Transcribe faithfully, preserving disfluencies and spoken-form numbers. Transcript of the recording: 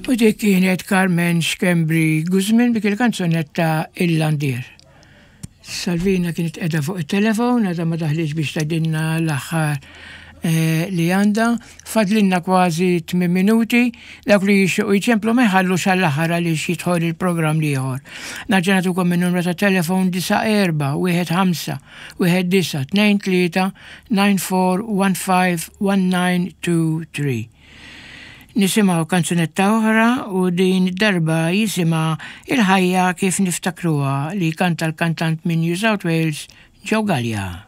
U dik kienet Carmen Schembri Guzman bik il-kanzunetta Il-Landier. Salvina kienet qiegħda fuq il-telefon, għadha ma daħlitx biex tgħidilna l-aħħar eh, li għandha. Fadlilna kważi tmien minuti, dawk li jixtiequ jċemplu ma jħallux għall-aħħar għaliex jidħol il-programm l-ieħor. Nerġa' nagħtukom il-numru ta' telefon disa' erba' wieħed ħamsa wieħed disa' tnejn tlieta nine four one five one nine two three. Nisimgħu kanzunetta oħra u din darba jisimha Il-ħajja kif niftakruha li kanta l-kantant minn New South Wales, Joe Gallia.